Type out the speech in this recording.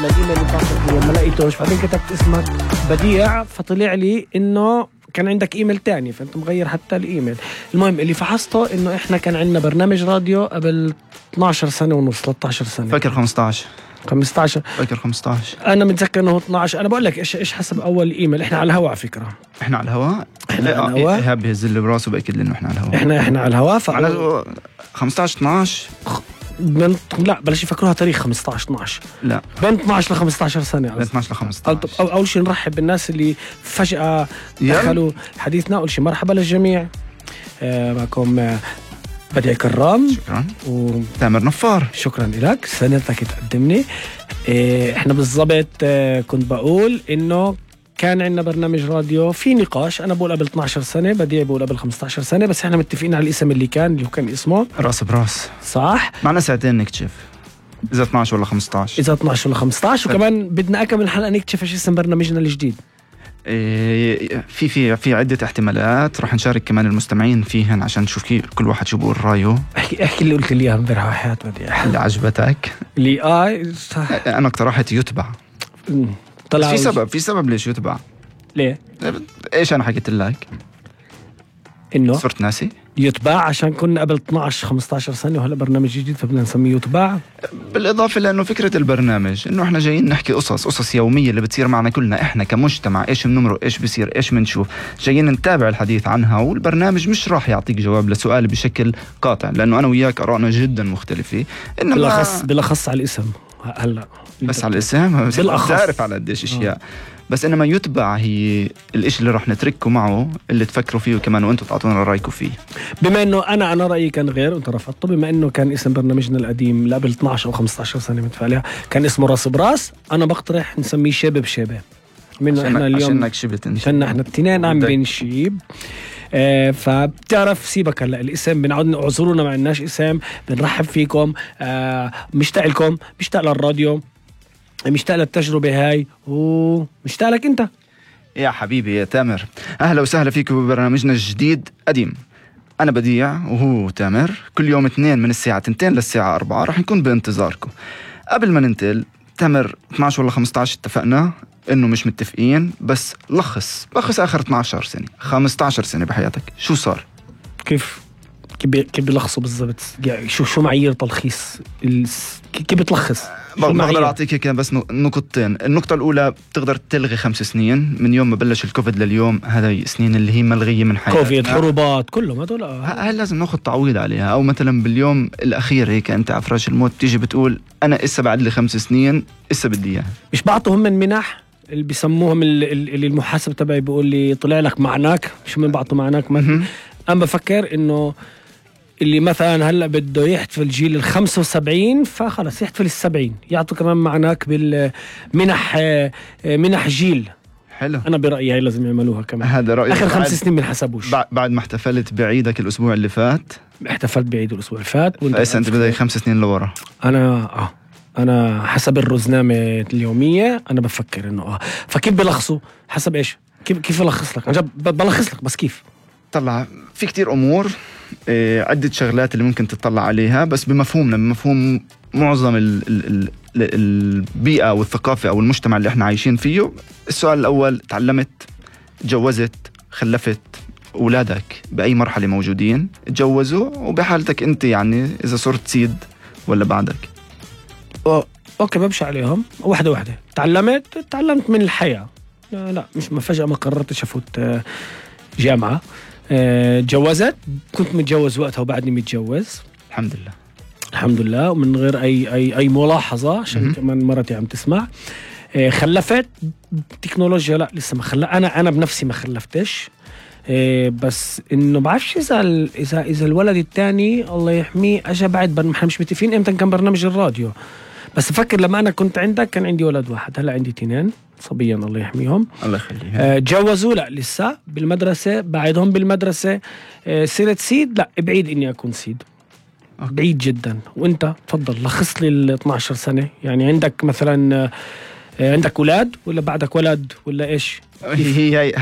على الايميل اللي بعثت لي ما لقيتوش، بعدين كتبت اسمك بديع فطلع لي انه كان عندك ايميل تاني، فانت مغير حتى الايميل. المهم اللي فحصته انه احنا كان عندنا برنامج راديو قبل 12 سنة ونص 13 سنة، فاكر 15 فاكر 15. انا متذكر انه 12. انا بقول لك ايش حسب اول ايميل. احنا على الهواء على فكرة، احنا على الهواء. ايهاب بيهز لي براسه باكد لي انه احنا على الهواء. احنا على الهواء. 15 12 لا بلاش يفكروها تاريخ 15 12. لا بين 12 ل 15 سنة. بين 12 ل 15. اول شيء نرحب بالناس اللي فجأة دخلوا حديثنا. اول شيء مرحبا للجميع. معكم بديع كرام. شكرا. وتامر نفار. شكرا لك، سنتك تقدمني. احنا بالضبط كنت بقول انه كان عندنا برنامج راديو في نقاش. انا بقول قبل 12 سنة، بديع بقول قبل 15 سنة، بس احنا متفقين على الاسم اللي كان اسمه راس براس. صح. معنا ساعتين نكتشف اذا 12 ولا 15. اذا 12 ولا 15. وكمان بدنا اكمل حلقة نكتشف ايش اسم برنامجنا الجديد. في عدة احتمالات رح نشارك كمان المستمعين فيهن عشان نشوف كل واحد شو بقول رأيه. احكي اللي قلت لي اياها امبارح وحياة بديع اللي عجبتك. اللي انا اقترحت يتبع. طلع في سبب ليش يتبع. ليه؟ ايش انا حكيت لك؟ انه صرت ناسي. يتباع عشان كنا قبل 12 15 سنة وهلا برنامج جديد فبدنا نسميه يتباع. بالإضافة لأنه فكرة البرنامج إنه إحنا جايين نحكي قصص يومية اللي بتصير معنا كلنا إحنا كمجتمع. إيش بنمرق، إيش بصير، إيش بنشوف، جايين نتابع الحديث عنها. والبرنامج مش راح يعطيك جواب لسؤال بشكل قاطع، لأنه أنا وياك آرائنا جدا مختلفة. إنما بالأخص على الاسم. هلا بس على الاسم تعرف على قديش اشياء. بس انما يتبع هي الاشي اللي رح نتركه معه، اللي تفكروا فيه كمان وانتم تعطونا رايكم فيه. بما انه انا رايي كان غير وانت رفضته. بما انه كان اسم برنامجنا القديم قبل 12 او 15 سنه متفق كان اسمه راس براس، انا بقترح نسميه شبه بشبه. منه احنا اليوم عشانك شبت انت، عشان احنا الاثنين عم بنشيب. فبتعرف سيبك هلا الاسم بنعود اعذرونا ما عندناش اسم. بنرحب فيكم. مشتاق لكم، مشتاق للراديو، مشتاق للتجربة هاي، ومشتاق لك انت يا حبيبي يا تامر. اهلا وسهلا فيكم ببرنامجنا الجديد قديم. انا بديع وهو تامر. كل يوم 2 من الساعة 2 للساعة 4 رح نكون بانتظاركم. قبل ما ننتقل تامر 12 ولا 15 اتفقنا انه مش متفقين، بس لخص اخر 12 سنة 15 سنة بحياتك شو صار؟ كيف بيلخصوا بالضبط؟ يعني شو معايير تلخيص كيف بتلخص؟ بقدر أعطيك كان بس نقطتين. النقطة الأولى بتقدر تلغي 5 سنين من يوم ما بلش الكوفيد لليوم. هذا سنين اللي هي ملغية من حياتنا. كوفيد، حروبات، كلهم هدول. هل لازم ناخد تعويض عليها؟ أو مثلا باليوم الأخير هيك أنت على فراش الموت تيجي بتقول أنا إسا بعد لي 5 سنين إسا بدي إياها. مش بعطوا هم من منح اللي بيسموهم اللي المحاسب تبعي بيقول لي طلع لك معناك. شو من بعطوا معناك؟ أنا بفكر إنه اللي مثلا هلا بده يحتفل جيل 75 فخلص يحتفل 70 يعطوا كمان معناك بالمنح. منح جيل. حلو. انا برايي هي لازم يعملوها كمان. هذا رايي. اخر 5 سنين بنحسبوش. بعد ما احتفلت بعيدك الاسبوع اللي فات. احتفلت بعيد الاسبوع اللي فات. انت بدك 5 سنين لورا. انا حسب الرزنامه اليوميه انا بفكر انه فكيف بلخصوا حسب ايش؟ كيف بلخص لك؟ انا بلخص لك بس كيف؟ طلع في كتير امور، عدة شغلات اللي ممكن تطلع عليها، بس بمفهوم معظم البيئة والثقافة أو المجتمع اللي احنا عايشين فيه. السؤال الأول، تعلمت، تجوزت، خلفت، أولادك بأي مرحلة موجودين تجوزوا، وبحالتك أنت يعني إذا صرت سيد ولا بعدك؟ أوكي بمشي عليهم واحدة. تعلمت من الحياة. لا مش ما فجأة ما قررتش أفوت جامعة. تجوزت، كنت متجوز وقتها وبعدني متجوز الحمد لله ومن غير أي ملاحظة عشان كمان مرتي عم تسمع. خلفت تكنولوجيا لا لسه ما أنا بنفسي ما خلفتش. بس إنه بعرفش إذا الولد الثاني الله يحميه أجا بعد احنا مش متفقين إمتى كان برنامج الراديو. بس أفكر لما أنا كنت عندك كان عندي ولد واحد، هلا عندي 2 صبيا الله يحميهم. الله يخليهم. تجوزوا لا لسه بالمدرسة، بعدهم بالمدرسة. صرت سيد لا بعيد إني أكون سيد. بعيد جدا. وانت تفضل لخص لي ال 12 سنة. يعني عندك مثلا عندك أولاد ولا بعدك ولد ولا إيش؟ هي